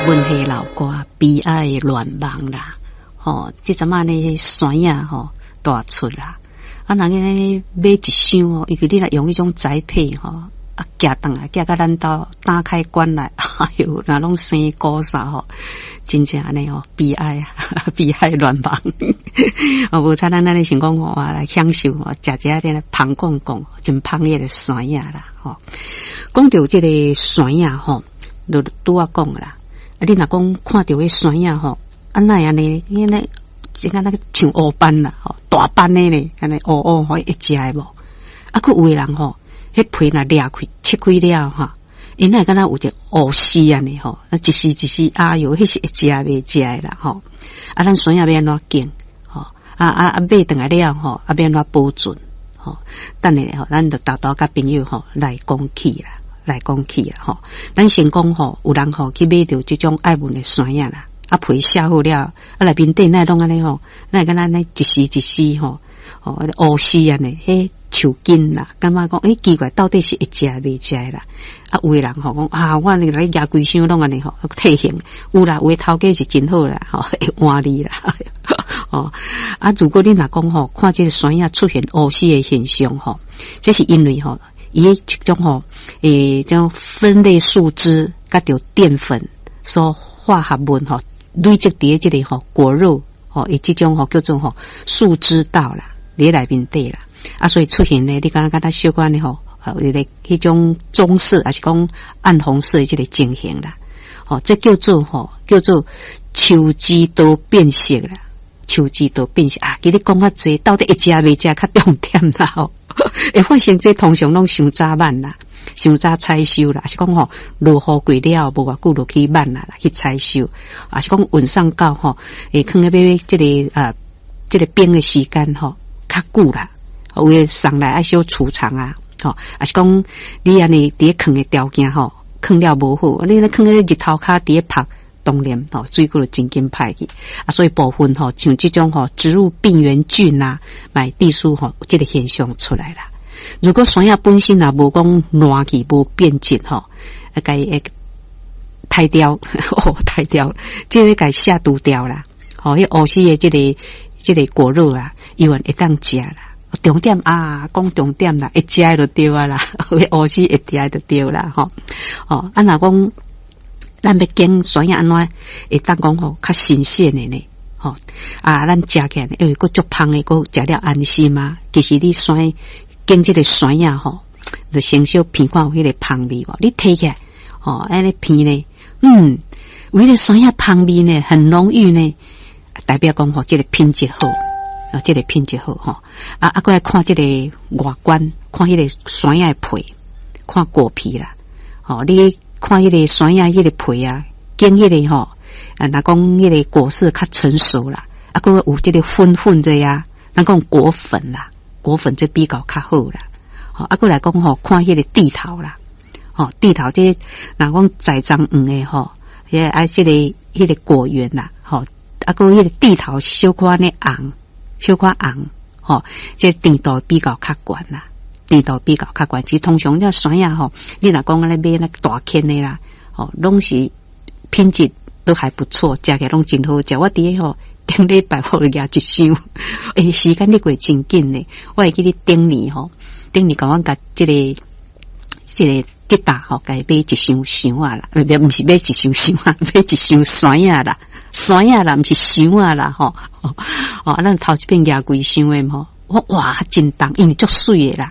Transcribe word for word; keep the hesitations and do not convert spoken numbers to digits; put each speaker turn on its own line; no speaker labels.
文化老歌，悲哀戀夢啦，吼！這陣仔呢山仔吼大出啦，啊，人呢買一箱哦，因為你若用彼種栽培吼，啊，寄轉來寄到咱兜，打開關來，哎喲，若攏生菇啥吼，真正按呢吼，悲哀啊，悲哀戀夢。哦，無彩咱按呢想講吼，來享受吼，食食佇咧芳講講，真芳彼个山仔啦，吼。講著這个山仔吼，就拄仔講啦。啊，你若講看著彼山仔吼，啊哪會按呢？因為這個那個像烏斑啦，吼，大斑的呢，按呢烏烏吼會食的無？啊，閣有的人吼，彼皮若裂開、切開了吼，伊哪會敢若有一個烏絲按呢吼，啊，一絲一絲，哎喲，彼是會食袂食的啦，吼。啊，咱山仔欲按怎揀？吼，啊啊啊，買轉來了吼，啊欲按怎保存？吼，等下吼，咱就沓沓佮朋友吼來講起啦。來講起啦，吼！咱先講吼，有人吼去買著這種愛文的山仔啦，啊皮削好了，啊內面底哪會攏按呢吼，哪會敢若按呢一絲一絲吼，吼烏絲按呢，彼樹根啦，感覺講欸奇怪，到底是會食袂食的啦？啊有的人吼講啊，我來舉規箱攏按呢吼，退行有啦，有的頭家是真好啦，吼會換你啦，哦啊，如果你若講吼，看這个山仔出現烏絲的現象吼，這是因為吼。伊彼種吼，欸，這種酚類樹脂佮著澱粉所化合物吼，累積佇這个吼果肉吼，伊這種吼叫做吼樹脂道啦，佇內面底啦，啊，所以出現呢，你感覺敢若小可呢吼，彼个彼種棕色，抑是講暗紅色的這个情形啦，吼，這叫做吼叫做樹脂道變色啦，樹脂道變色啊，其實講較濟，到底會食袂食較重點啦吼。會發生這通常攏傷早挽啦，傷早採收啦，抑是講吼落雨過了無偌久就去挽啦，去採收，抑是講運送到吼，會囥咧欲這个啊，這个冰的時間吼較久啦，有的送來愛小儲藏啊，吼，抑是講你按呢佇咧囥的條件吼，囥了無好，你咧囥咧日頭跤佇咧曝，當然吼水果就真緊歹去啊，所以部分吼像這種吼植物病原菌啊，嘛會致使吼這个現象出來啦。如果山仔本身若無講爛去，無變質吼，啊，共伊刣掉，哦，刣掉，這个共下毒掉啦。吼，彼烏絲的這个這个果肉啊，猶原會當食啦。重點啊，講重點啦，會食的就對啊啦，彼烏絲會食的就對啦，吼。哦，啊，若講咱欲揀山仔按怎會當講吼較新鮮的呢？吼啊，咱食起來因為閣足芳的，閣食了安心嘛。其實你選揀這个山仔吼，就先小鼻看有彼个芳味無？你提起來，吼，按呢鼻呢，嗯，有彼个山仔芳味呢，很濃郁呢，代表講吼，這个品質好，啊，這个品質好吼。啊啊，閣來看這个外觀，看彼个山仔的皮，看果皮啦，吼，你看彼个山仔彼个皮啊，揀彼个吼，啊，若講彼个果實較成熟啦，啊，閣有這个粉粉的啊，咱講果粉啦，果粉這比較較好啦，吼，啊，閣來講吼，看彼个蒂頭啦，吼，蒂頭這个若講栽種園的吼，彼个啊，這个彼个果園啦，吼，啊，閣彼个蒂頭小可按呢紅，小可紅，吼，這甜度比較較懸啦，甜度比較較懸。其實通常這山仔吼，你若講按呢買那大顆的啦，吼，攏是品質都還不錯，食起來攏真好食。我佇咧吼頂禮拜我就舉一箱，欸，時間咧過真緊呢。我會記得頂年吼，頂年共阮共這个這个吉達吼，共伊買一箱箱仔啦，毋是買一箱箱仔，買一箱山仔啦，山仔啦，毋是箱仔啦，吼。哦，啊，咱頭一遍舉規箱的吼，我哇，真重，因為足媠的啦。